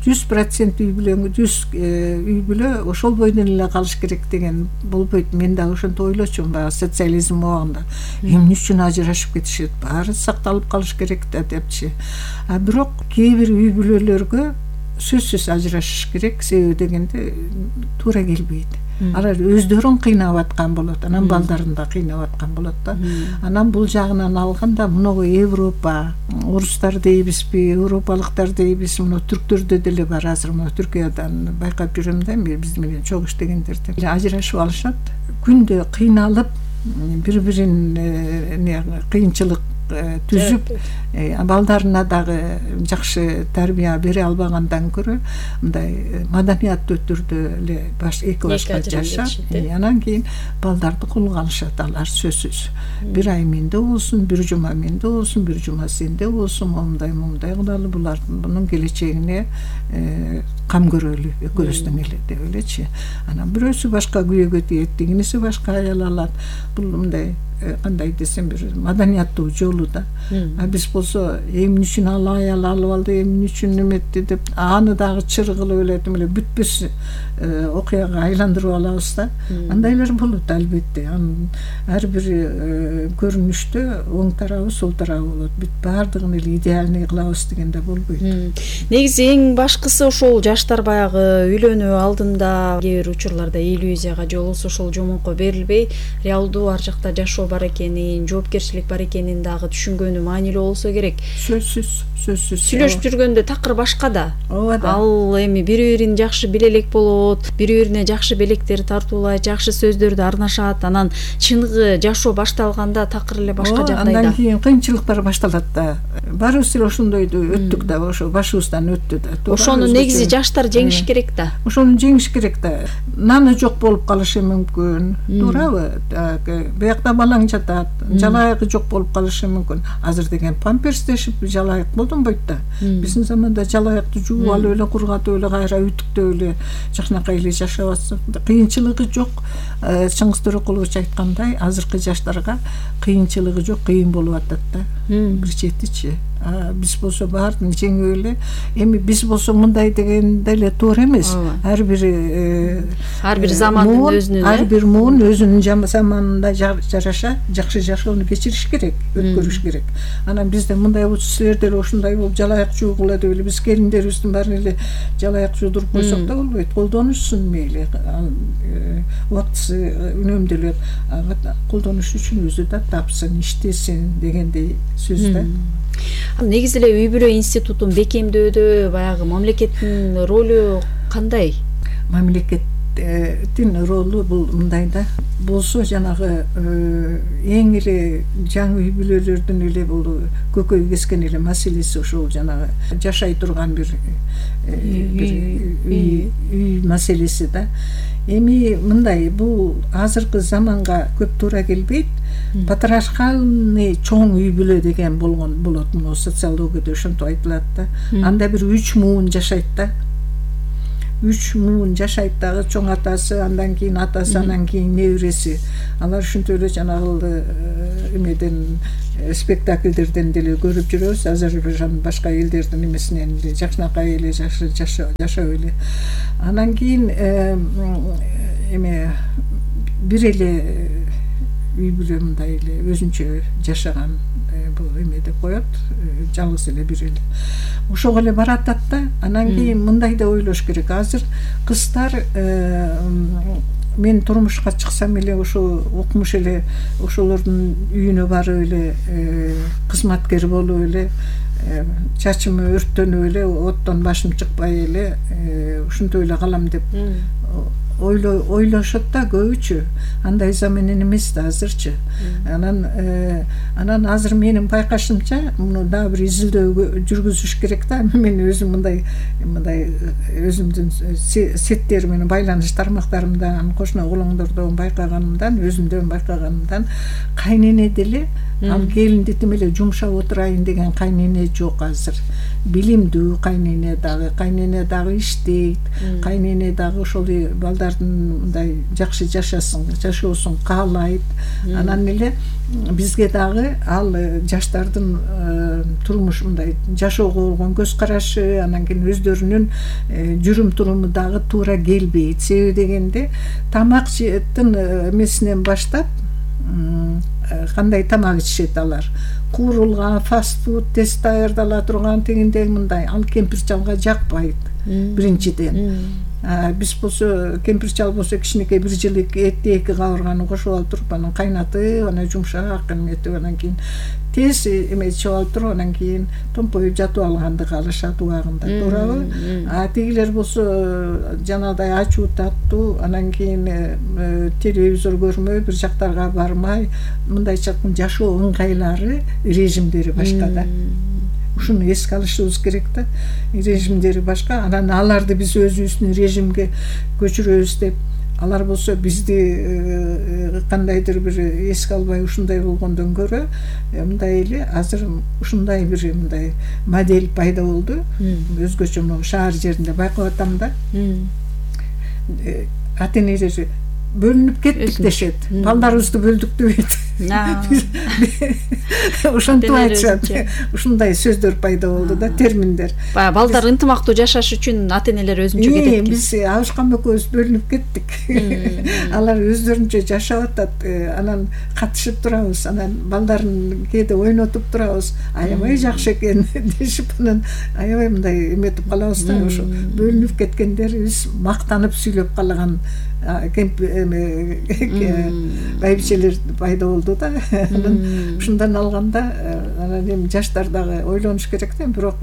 жүз процент үй бүлө жүз үй бүлө ошол бойдон эле калыш керек деген болбойт. Мен дагы ошентип ойлочумун баягы социализм убагында. Эмне үчүн ажырашып кетишет? Баары сакталып калыш керек да депчи. А бирок кээ бир үй бүлөлөргө сөзсүз ажырашыш керек, себеби дегенде туура келбейт. Алар өздөрүн кыйнап аткан болот, анан балдарын да кыйнап аткан болот да. Анан бул жагынан алганда мынау Европа, орустар дейбизби, европалыктар дейбиз, мына түрктөрдө деле бар азыр, мына Түркиядан байкап жүрөм да, биз менен чогуу иштегендерди. Ажырашып алышат, күндө кыйналып, бири-бирин кыйынчылык түзүп, балдарына дагы жакшы тарбия бере албагандан көрө мындай маданияттуу түрдө эле баш эки башка жашап, анан кийин балдарды колго алышат алар сөзсүз. Бир ай менде болсун, бир жума менде болсун, бир жума сенде болсун, момундай момундай кылалы, булар бунун келечегине кам көрөлү экөөбүздүн эле деп элечи. Анан бирөөсү башка күйөөгө тиет, дегенеси башка аял алат. Бул мындай кандай десем бир маданияттуу жолу да. А биз болсо эмне үчүн ал аял алып алды, эмне үчүн эметти деп аны дагы чыр кылып эле эле бүтпөс окуяга айландырып алабыз да. Андайлар болот албетте. Ар бир көрүнүштө оң тарабы, сол тарабы болот. Бүт баардыгын эле идеальный кылабыз дегенде болбойт. Негизи эң башкысы ошол жаштар баягы үйлөнүү алдында кээ бир учурларда иллюзияга же болбосо ошол жомонко берилбей, реалдуу ар жакта жашоо бар экенин, жоопкерчилик бар экенин дагы түшүнгөнү маанилүү болсо керек. Сөзсүз, сөзсүз. Сүйлөшүп жүргөндө такыр башка да. Ооба да. Ал эми бири-бирин жакшы биле элек болот, бири-бирине жакшы белектер тартуулайт, жакшы сөздөрдү арнашат, анан чыныгы жашоо башталганда такыр эле башка жагдайда. Андан кийин кыйынчылыктар башталат да. Барыбыз эле ошондойду өттүк да, ошо башыбыздан өттү да. Ошону негизи жаштар жеңиш керек да. Ошону жеңиш керек да. Наны жок болуп калышы мүмкүн. Туурабы? Биякта балаң жатат, жалайыгы жок болуп калышы мүмкүн. Азыр деген памперстешип жалайык колдонбойт да. Биздин заманда жалайыкты жууп алып эле, кургатып эле, кайра үтүктөп эле жакшынакай эле жашап атсак, кыйынчылыгы жок. Чыңгыз Төрөкулович айткандай, азыркы жаштарга кыйынчылыгы жок, кыйын болуп атат да. Бир четичи. Биз болсо баарын жеңип эле, эми биз болсо мындай дегенде эле туура эмес. Ар бир ар бир замандын өзүнүн, ар бир муун өзүнүн заманында жараша жакшы жашоону кечириш керек, өткөрүш керек. Анан бизде мындай болсо силер деле ошондой болуп жалайык жуугула деп эле биз келиндерибиздин баарын эле жалайык жуудуруп койсок да болбойт. Колдонушсун мейли, убактысы үнөмдөлөт, колдонуш үчүн өзү да тапсын, иштесин дегендей сөз да. Негизи эле үй бүлө институтун бекемдөөдө баягы мамлекеттин ролу кандай? Мамлекеттин ролу бул мындай да. Болсо жанагы эң эле жаңы үй бүлөлөрдүн эле бул көкөй кескен эле маселеси ошол жанагы жашай турган бир үй маселеси да. Эми мындай, бул азыркы заманга көп туура келбейт. Патриархальный чоң үй бүлө деген болгон болот, мына социологияда ошентип айтылат да. Анда бир үч муун жашайт да. Үч муун жашайт дагы, чоң атасы, андан кийин атасы, андан кийин небереси. Алар ушинтип эле жанагы эмеден спектакльдерден деле көрүп жүрөбүз. Азербайжан башка элдердин эмесинен жакшынакай эле жашап эле. Анан кийин эме бир эле үй бүлө мындай эле өзүнчө жашаган бул эме деп коет, жалгыз эле бир эле. Ошого эле баратат да. Анан кийин мындай да ойлош керек. Азыр кыздар мен турмушка чыксам эле ошо окумуш эле ошолордун үйүнө барып эле кызматкер болуп эле, чачым өрттөнүп эле, оттон башым чыкпай эле ушинтип эле калам деп ойлошот да көбүчө, андай менен эмес да азырчы. Анан анан азыр менин байкашымча муну дагы бир изилдөө жүргүзүш керек да. Мен өзүм мындай мындай өзүмдүн сеттер менен байланыш тармактарымдан, кошуна колоңдордон байкаганымдан, өзүмдөн байкаганымдан кайнене деле ал келинди тим эле жумшап отурайын деген кайнене жок азыр. Билимдүү кайнене дагы, кайнене дагы иштейт, кайнене дагы ошол балдардын мындай жакшы жашасын, жашоосун каалайт. Анан эле бизге дагы ал жаштардын турмуш мындай жашоого болгон көз карашы, анан кийин өздөрүнүн жүрүм туруму дагы туура келбейт. Себеби дегенде тамак жейтин эмесинен баштап кандай тамак ичишет алар, куурулган фастфуд тез даярдала турган тегиндей мындай, ал кемпир чалга жакпайт биринчиден. Биз болсо кемпир чал болсо кичинекей бир жылык этти эки кабырганы кошуп алып туруп, анан кайнатып, анан жумшак эметип, анан кийин тез эметип алып туруп, анан кийин томпоюп жатып алганды каалашат убагында, туурабы? А тигилер болсо жанагыдай ачуу таттуу, анан кийин телевизор көрмөй, бир жактарга бармай, мындайча жашоо ыңгайлары, режимдери башка да. Ушуну эске алышыбыз керек да. Режимдери башка, анан аларды биз өзүбүздүн режимге көчүрөбүз деп, алар болсо бизди кандайдыр бир эске албай ушундай болгондон көрө, мындай эле азыр ушундай бир мындай модель пайда болду. Өзгөчө могу шаар жеринде байкап атам да. Ата энелер бөлүнүп кеттик дешет. Балдарыбызды бөлдүк дебейт. Ошентип айтышат. Ушундай сөздөр пайда болду да, терминдер. Баягы балдар ынтымактуу жашаш үчүн ата энелер өзүнчө кетет экен. Биз Абышкан экөөбүз бөлүнүп кеттик. Алар өздөрүнчө жашап атат, анан катышып турабыз, анан балдарын кээде ойнотуп турабыз. Аябай жакшы экен дешип, анан аябай мындай эметип калабыз да. Ошо бөлүнүп кеткендерибиз мактанып сүйлөп калган байбичелер пайда болду да. Ушундан алганда анан эми жаштар дагы ойлонуш керек да, бирок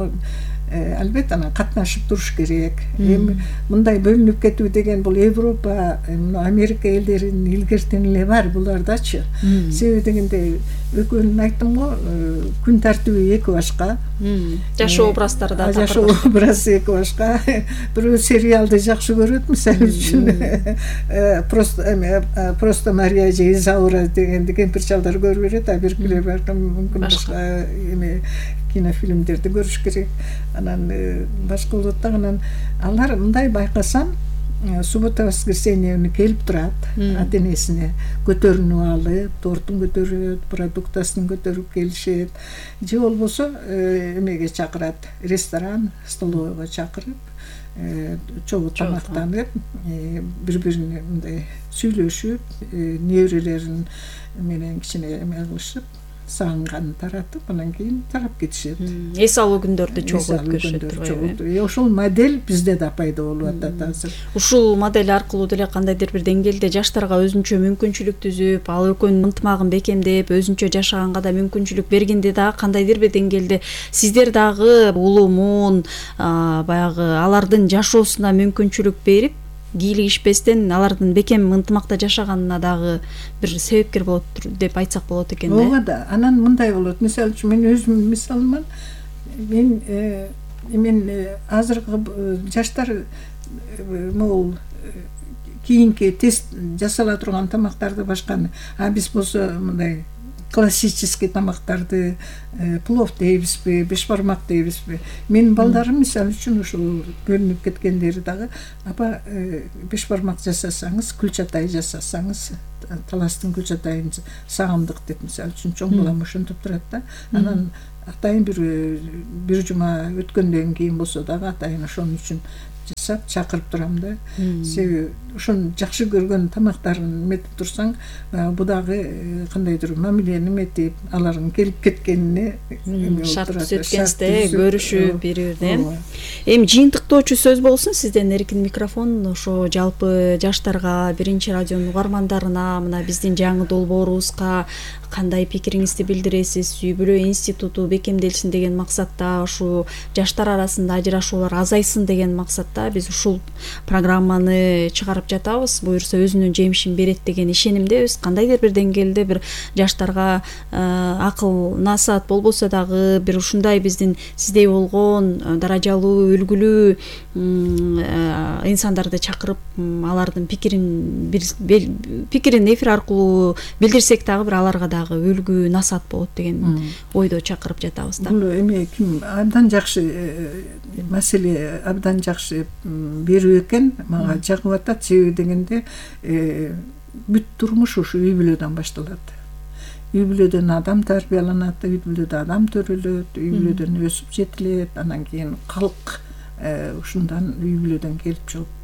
албетте анан катнашып туруш керек. Эми мындай бөлүнүп кетүү деген бул Европа, Америка элдеринин илгертен эле бар булардачы. Себеби дегенде экөөнүн айттым го, күн тартиби эки башка. Жашоо образдары да такыр. Жашоо образы эки башка. Бирөө сериалды жакшы көрөт, мисалы үчүн просто просто Мария же Изаура дегенди кемпир чалдар көрүп берет, а биркилер балким мүмкүн башка эме кинофильмдерди көрүш керек. Анан башка болот да. Анан алар мындай байкасам, суббота воскресенье күнү келип турат, ата энесине көтөрүнүп алып, тортун көтөрөт, продуктасын көтөрүп келишет. Же болбосо эмеге чакырат, ресторан, столовойго чакырып, чогуу тамактанып, бири-бирине мындай сүйлөшүп, неберелерин менен кичине эме кылышып, сагынганын таратып, анан кийин тарап кетишет. Эс алуу күндөрдү чогуу өткөрүшөт. Ошол модель бизде да пайда болуп атат азыр. Ушул модель аркылуу деле кандайдыр бир деңгээлде жаштарга өзүнчө мүмкүнчүлүк түзүп, ал экөөнүн ынтымагын бекемдеп, өзүнчө жашаганга да мүмкүнчүлүк бергенде да кандайдыр бир деңгээлде сиздер дагы улумун, баягы алардын жашоосуна мүмкүнчүлүк берип, кийлигишпестен алардын бекем ынтымакта жашаганына дагы бир себепкер болот деп айтсак болот экен да. Ооба да. Анан мындай болот. Мисалы үчүн мен өзүм мисалыман, мен мен азыркы жаштар могул кийинки тест жасала турган тамактарды башканы, а биз болсо мындай классический тамактарды, плов дейбизби, бешбармак дейбизби. Менин балдарым мисалы үчүн ушул бөлүнүп кеткендери дагы, апа бешбармак жасасаңыз, күлчатай жасасаңыз, таластын күлчатайын сагындык деп мисалы үчүн чоң балам ошентип турат да. Анан атайын бир бир жума өткөндөн кийин болсо дагы атайын ошон үчүн жасап чакырып турам да. Себеби ошону жакшы көргөн тамактарын эметип турсаң, бу дагы кандайдыр мамилени эметип, алардын келип кеткенине шарт түзөткенсизде көрүшүп бири-биринен. Эми жыйынтыктоочу сөз болсун, сизден эркин микрофон. Ошо жалпы жаштарга, биринчи радионун угармандарына, мына биздин жаңы долбоорубузга кандай пикириңизди билдиресиз? Үй бүлө институту бекемделсин деген максатта, ушу жаштар арасында ажырашуулар азайсын деген максатта биз биз ушул программаны чыгарып жатабыз. Буюрса өзүнүн жемишин берет деген ишенимдебиз. Кандайдыр бир деңгээлде бир жаштарга акыл насаат болбосо дагы бир ушундай биздин сиздей болгон даражалуу, үлгүлүү инсандарды чакырып алардын пикирин пикирин эфир аркылуу билдирсек дагы бир аларга дагы үлгү насаат болот деген ойдо чакырып жатабыз да. Бул эми ким абдан жакшы маселе, абдан жакшы берүү экен. Мага жагып атат. Себеби дегенде бүт турмуш ушу үй бүлөдөн башталат. Үй бүлөдөн адам тарбияланат, үй бүлөдө адам төрөлөт, үй бүлөдөн өсүп жетилет, анан кийин калк ушундан үй бүлөдөн келип чыгып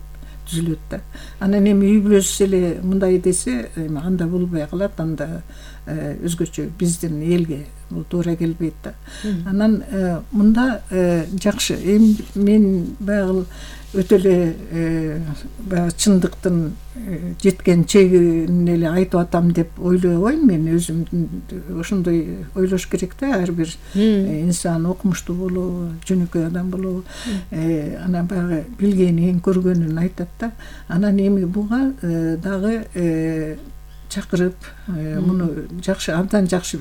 түзүлөт да. Анан эми үй бүлөсү эле мындай десе, эми анда болбой калат, анда өзгөчө биздин элге бул туура келбейт да. Анан мында жакшы. Эми мен баягы өтө эле баягы чындыктын жеткен чегине эле айтып атам деп ойлобойм. Мен өзүм ошондой ойлош керек да. Ар бир инсан окумуштуу болобу, жөнөкөй адам болобу, анан баягы билгенин, көргөнүн айтат да. Анан эми буга дагы чакырып муну жакшы, абдан жакшы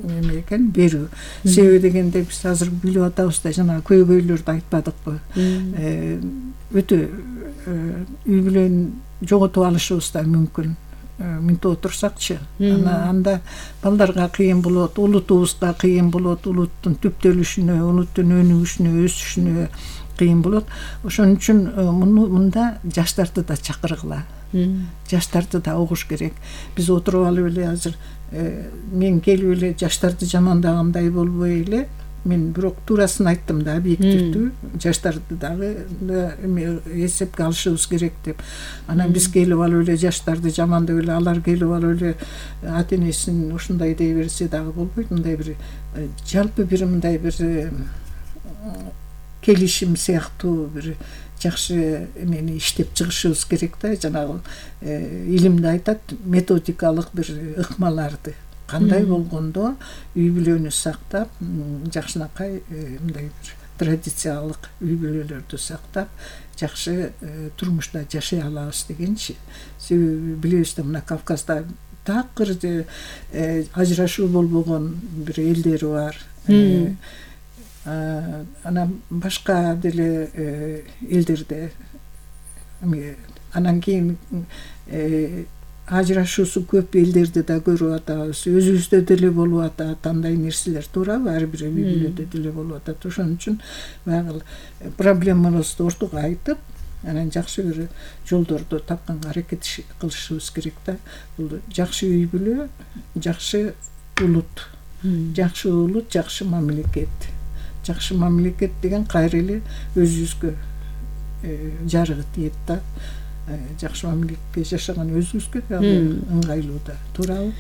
эме экен берүү. Себеби дегенде биз азыр билип атабыз да, жана көйгөйлөрдү айтпадыкпы. Өтө үй бүлөнү жоготуп алышыбыз да мүмкүн. Мынтип отурсакчы, анда балдарга кыйын болот, улутубузга кыйын болот, улуттун түптөлүшүнө, улуттун өнүгүшүнө, өсүшүнө кыйын болот. Ошон үчүн муну мында жаштарды да чакыргыла. Жаштарды да угуш керек. Биз отуруп алып эле азыр мен келип эле жаштарды жамандагандай болбой эле, мен бирок туурасын айттым да, объективдүү. Жаштарды дагы эсепке алышыбыз керек деп. Анан биз келип алып эле жаштарды жамандап эле, алар келип алып эле ата энесин ушундай дей берсе дагы болбойт. Мындай бир жалпы бир мындай бир келишим сыяктуу бир жакшы эмени иштеп чыгышыбыз керек да. Жанагы илимде айтат, методикалык бир ыкмаларды кандай болгондо үй бүлөнү сактап, жакшынакай мындай бир традициялык үй бүлөлөрдү сактап, жакшы турмушта жашай алабыз дегенчи. Себеби билебиз да, мына Кавказда такыр ажырашуу болбогон бир элдери бар. Анан башка деле элдерде анан кийин ажырашуусу көп элдерди да көрүп атабыз. Өзүбүздө деле болуп атат андай нерселер, туурабы? Ар бир үй бүлөдө деле болуп атат. Ошон үчүн баягы проблемабызды ортого айтып, анан жакшы бир жолдорду тапканга аракет кылышыбыз керек да. Бул жакшы үй бүлө, жакшы улут, жакшы улут, жакшы мамлекет. Жакшы мамлекет деген кайра эле өзүбүзгө жарыгы тиет да. Жакшы мамлекетте жашаган өзүбүзгө дагы ыңгайлуу да, туурабы?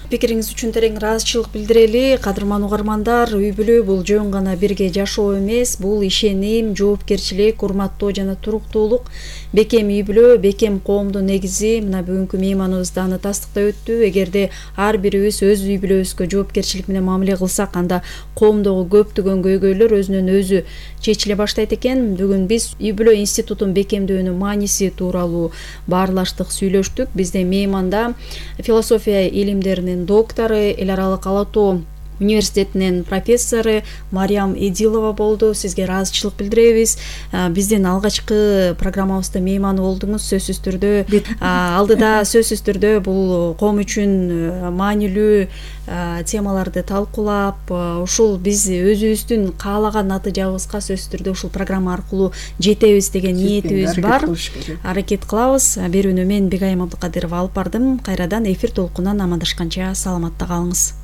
Пикириңиз үчүн терең ыраазычылык билдирели. Кадырман угармандар, үй бүлө бул жөн гана бирге жашоо эмес, бул ишеним, жоопкерчилик, урматтоо жана туруктуулук. Бекем үй бүлө, бекем коомдун негизи. Мына бүгүнкү мейманыбыз да аны тастыктап өттү. Эгерде ар бирибиз өз үй бүлөбүзгө жоопкерчилик менен мамиле кылсак, анда коомдогу көптөгөн көйгөйлөр өзүнөн өзү чечиле баштайт экен. Бүгүн биз үй бүлө институтун бекемдөөнүн мааниси тууралуу баарлаштык, сүйлөштүк. Бизде мейманда философия илимдеринин доктору, эл аралык ала тоо университетинин профессору Мариям Эдилова болду. Сизге ыраазычылык билдиребиз. Биздин алгачкы программабызда мейман болдуңуз. Сөзсүз түрдө алдыда сөзсүз түрдө бул коом үчүн маанилүү темаларды талкуулап, ушул биз өзүбүздүн каалаган натыйжабызга сөзсүз түрдө ушул программа аркылуу жетебиз деген ниетибиз бар. Аракет кылабыз. Берүүнү мен Бегайым Абдыкадырова алып бардым. Кайрадан эфир толкунунан амандашканча саламатта калыңыз.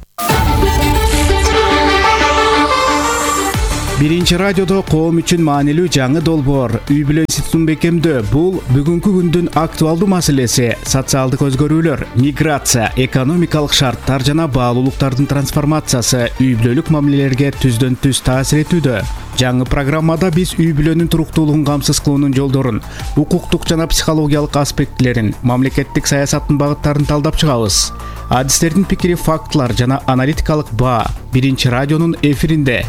Биринчи радиодо коом үчүн маанилүү жаңы долбоор үй бүлө институтун бекемдөө. Бул бүгүнкү күндүн актуалдуу маселеси. Социалдык өзгөрүүлөр, миграция, экономикалык шарттар жана баалуулуктардын трансформациясы үй бүлөлүк мамилелерге түздөн түз таасир этүүдө. Жаңы программада биз үй бүлөнүн туруктуулугун камсыз кылуунун жолдорун, укуктук жана психологиялык аспектилерин, мамлекеттик саясаттын багыттарын талдап чыгабыз. Адистердин пикири, фактылар жана аналитикалык баа биринчи радионун эфиринде.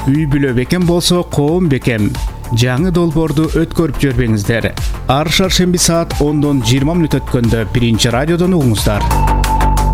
Үй бүлө бекем болсо, коом бекем. жаңы долбоорду өткөрүп жибербеңиздер. Ар шаршемби саат ондон жыйырма мүнөт өткөндө биринчи радиодон угуңуздар.